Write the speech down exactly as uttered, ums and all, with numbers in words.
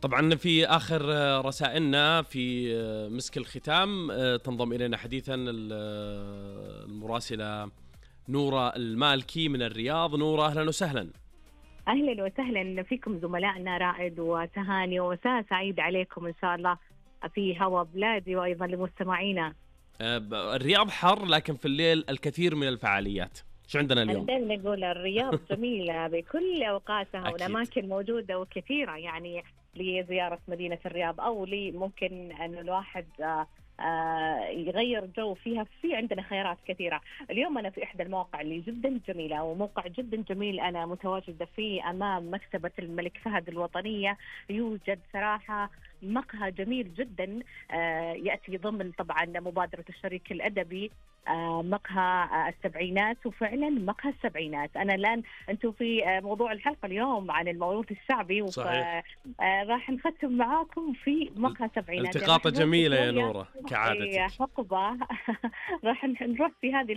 طبعا في آخر رسائلنا في مسك الختام تنضم إلينا حديثا المراسلة نورة المالكي من الرياض. نورة أهلا وسهلا. أهلا وسهلا فيكم زملائنا رائد وتهاني، ومساء سعيد عليكم إن شاء الله في هوا بلادي وأيضا لمستمعينا. الرياض حر لكن في الليل الكثير من الفعاليات. شو عندنا اليوم؟ دائما نقول الرياض جميلة بكل أوقاتها والأماكن موجودة وكثيرة، يعني لزيارة مدينة الرياض أو لي ممكن أن الواحد آه يغير جو فيها. في عندنا خيارات كثيرة. اليوم أنا في إحدى المواقع اللي جدا جميلة، وموقع جدا جميل أنا متواجدة فيه أمام مكتبة الملك فهد الوطنية. يوجد صراحة مقهى جميل جدا آه يأتي ضمن طبعا مبادرة الشريك الأدبي آه مقهى آه السبعينات، وفعلا مقهى السبعينات. أنا الآن أنتم في آه موضوع الحلقة اليوم عن الموروث الشعبي، وراح نختم معاكم في مقهى السبعينات. التقاطة جميلة يا نورة كعادتك. حقبة راح نروح في هذه